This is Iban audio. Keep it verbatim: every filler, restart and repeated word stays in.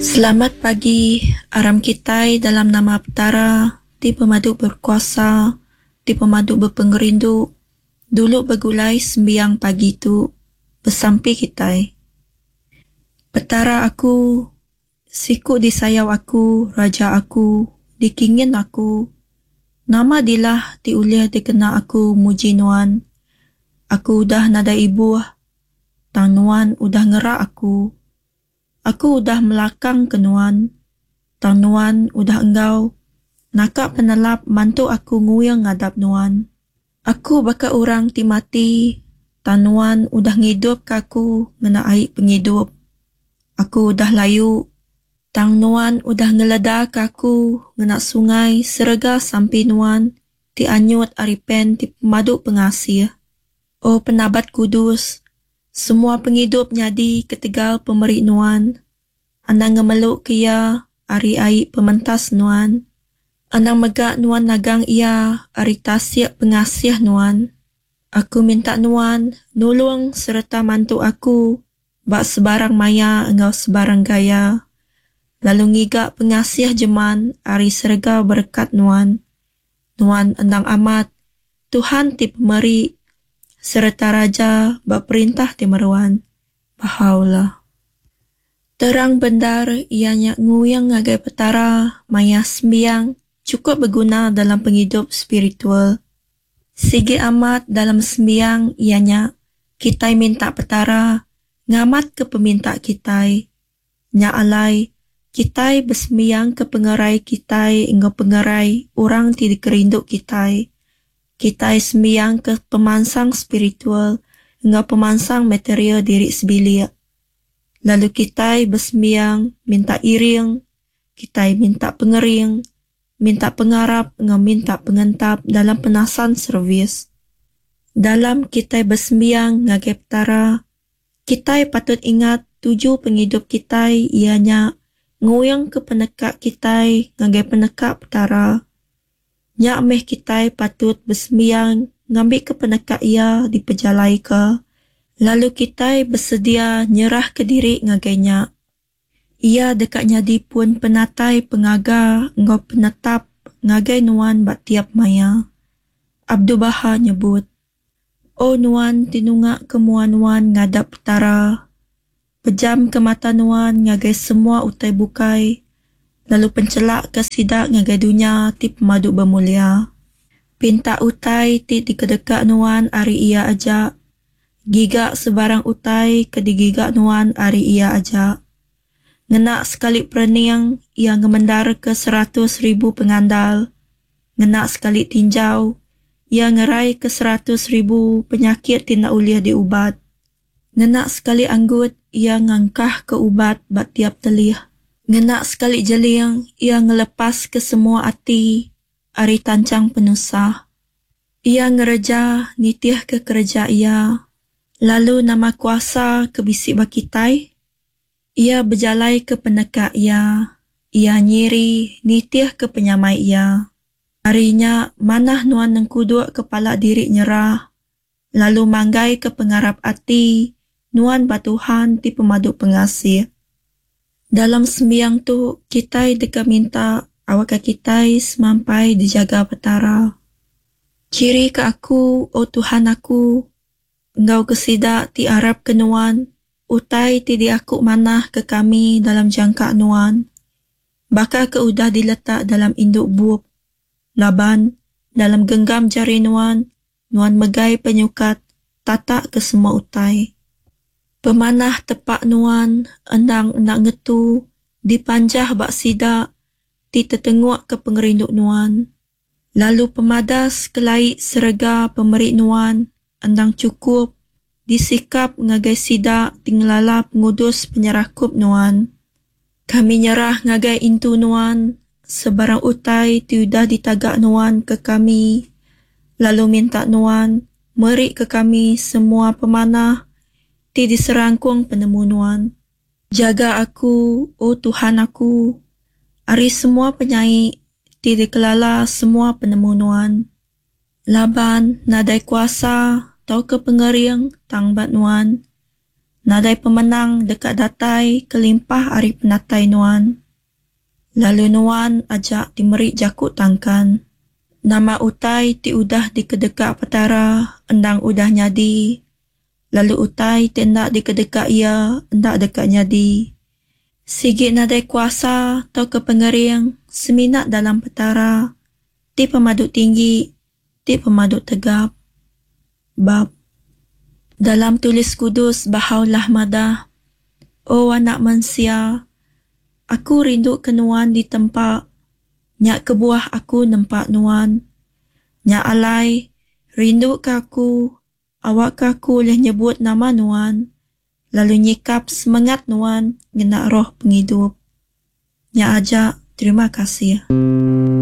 Selamat pagi, aram kitai dalam nama Petara ti pemadu berkuasa, ti pemadu bepengerindu, dulu begulai sembiang pagi tu, besampi kitai. Petara aku, siku disayau aku, Raja aku, dikingin aku, nama dilah ti ulih dikena aku muji Nuan? Aku udah nadai ibuh, tang Nuan udah ngerak aku. Aku udah melakangka Nuan, tang Nuan udah enggau naka penelap mantu aku nguing ngadap Nuan. Aku baka orang ti mati, tang Nuan udah ngidupka aku ngena ai pengidup. Aku udah layu, tang Nuan udah ngeledaka aku ngena sungai serega sampi Nuan ti anyut ari pen ti pemadu pengasih. O Penabat Kudus, semua pengidup nyadi ketegal pemeri Nuan. Anang ngemeluka iya ari ai pementas Nuan. Anang mega Nuan nagang iya ari tasik pengasih Nuan. Aku minta Nuan nulung sereta mantu aku ba sebarang maya enggau sebarang gaya, lalu ngiga pengasih jeman ari serega berekat Nuan. Nuan endang amat Tuhan ti pemeri sereta Raja ba perintah ti meruan. Bahá'u'lláh. Terang bendar iya nya nguing ngagai Petara maya sembiang chukup beguna dalam pengidup spiritual. Sigi amat dalam sembiang iya nya kitai minta Petara ngamatka peminta kitai. Nya alai, kitai besembiangka pengerai kitai enggau pengerai orang ti dikerindu kitai. Kitai sembiangka pemansang spiritual enggau pemansang material diri sebilik. Lalu kitai besembiang minta iring, kitai minta pengering, minta pengarap enggau minta pengentap dalam penasan servis. Dalam kitai besembiang ngagai Petara, Kitai patut ingat tuju pengidup kitai iya nya nguingka peneka kitai ngagai peneka Petara. Nya meh kitai patut besembiang ngambika peneka Iya dipejalaika, lalu kitai besedia nyerahka diri ngagai nya. Iya deka nyadi pun penatai pengaga enggau penetap ngagai nuan ba tiap maya. Abdu'l-Bahá nyebut. O nuan ti nungaka mua nuan ngadap Petara, pejamka mata nuan ngagai semua utai bukai lalu penchelakka sida ngagai dunya ti pemadu bemulia. Pinta utai ti dikedeka nuan ari Iya aja, giga sebarang utai ke digiga nuan ari Iya aja. Ngena sekali perening, Iya ngemendarka seratus ribu pengandal. Ngena sekali tinjau, Iya ngeraika seratus ribu penyakit ti enda ulih diubat. Ngena sekali anggut, Iya ngangkahka ubat ba tiap telih. Ngena sekali jeling, Iya ngelepaska semua ati ari tanchang penusah. Iya ngereja nitihka kereja Iya. Lalu nama kuasa ke bisi ba kitai? Iya bejalaika peneka Iya. Iya nyiri nitihka penyamai Iya. Ari nya, manah nuan nengkudukka pala diri nyerah, lalu manggaika pengarap ati nuan ba Tuhan ti Pemadu Pengasih. Dalam sembiang tu, kitai deka minta awakka kitai semampai dijaga Petara. Chirika aku, O Tuhan aku, enggau ke sida ti arapka Nuan, utai ti diaku manah ke kami dalam jangka Nuan, baka ke udah diletak dalam indu bup. Laban, dalam genggam jari Nuan, Nuan megai penyukat tatak ke semua utai. Pemanah tepa Nuan endang enda ngetu dipanjah ba sida ti tetengukka pengerindu Nuan, lalu pemadas kelai serega pemeri Nuan endang chukup disikap ngagai sida ti ngelala pengudus penyerakup Nuan. Kami nyerah ngagai intu Nuan sebarang utai ti udah ditaga Nuan ke kami, lalu minta Nuan meri ke kami semua pemanah ti diserangkung penemu Nuan. Jaga aku, O Tuhan aku, ari semua penyai ti dikelala semua penemu Nuan. Laban nadai kuasa tauka pengering tang ba Nuan. Nadai pemenang deka datai kelimpah ari penatai Nuan, lalu Nuan aja ti meri jaku tangkan. Nama utai ti udah dikedeka Petara endang udah nyadi, lalu utai ti enda dikedeka Iya enda deka nyadi. Sigi nadai kuasa tauka pengering semina dalam Petara ti Pemadu Tinggi, ti Pemadu Tegap. Bab. Dalam Tulis Kudus Bahá'u'lláh madah, O anak mensia, Aku rindu ke nuan ditempa, nya kebuah Aku nempa nuan. Nya alai, rinduka Aku, awakka Aku ulih nyebut nama nuan, lalu nyikap semengat nuan ngena roh pengidup. Nya aja, terima kasih.